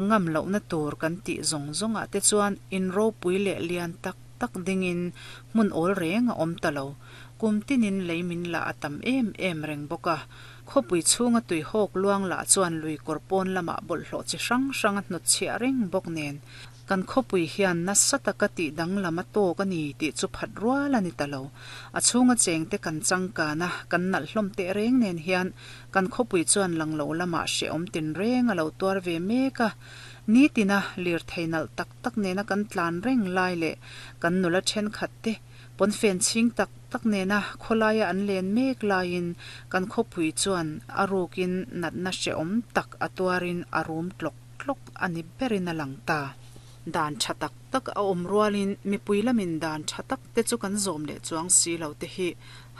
Ngam lohna tur kan tih zawng zawngah te chuan in ropui leh lian tak tak dingin hmun awl reng a awm ta lo. Kum tinin lei min lah a tam em em reng bawk a. Khawpui chhunga tuihawk luang lah chuan lui kawr pawn lamah bawlhhlawh chi hrang hrang a hnutchhiah reng bawk nen Kan khawpui hian nasa taka tih danglam a tawk a ni tih chu phat rual a ni ta lo. A chhunga chengte kan changkan a, kan nalh hlawm teh reng nen hian kan khawpui chuan lang lo lamah hrehawm tinreng a lo tuar ve mek a. Nitina lirthei nalh tak tak nena kan tlan reng lai leh kan nula thenkhat te pawnfen chhing tak tak nena khawlaia an len mek laiin kan khawpui chuan a rukin natna hrehawm tak a tuarin a rum tlawk tlawk a ni berin a lang ta. Dan tha tak tak a awm rualin mipui lamin dan tha tak te chu kan zawm leh chuang si lo te hi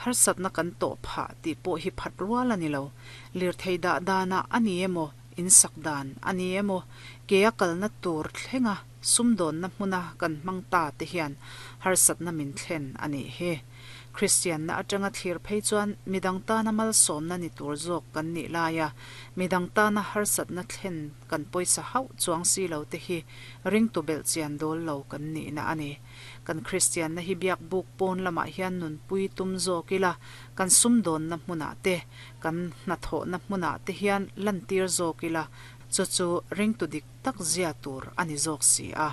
harsatna kan tawh phah tih pawh hi phat rual a ni lo. Lirthei dah danah a ni emaw, insak dan a ni emaw, ke a kalna tur thlenga sumdawnna hmuna kan hmang ta te hian harsatna min thlen a nih hi. Kristianna atanga thlir phei chuan midang tana malsawmna ni tur zawk kan nih laia midang tana harsatna thlen kan pawisa hauh chuang si lo te hi ringtu belh chian dawl lo kan nihna a ni. Kan Kristianna hi biak buk pawn lamah hian nunpui tum zawk ila, kan sumdawnna hmunah te, kan hnathawhna hmunah te hian lantir zawk ila, chu chu ringtu dik tak zia tur a ni zawk si a.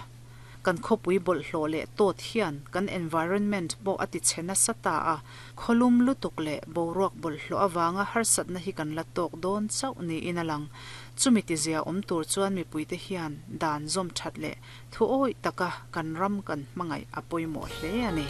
Kan khawpui bawlhhlawh leh tawt hian kan environment pawh a ti chhe nasa ta a, khawlum lutuk leh boruak bawlhhlawh avanga harsatna hi kan la tawk dawn chauh niin a lang. Chumi tizia awm tur chuan mipuite hian dan zawm that leh thu awih taka kan ram kan hmangaih a pawimawh hle a ni.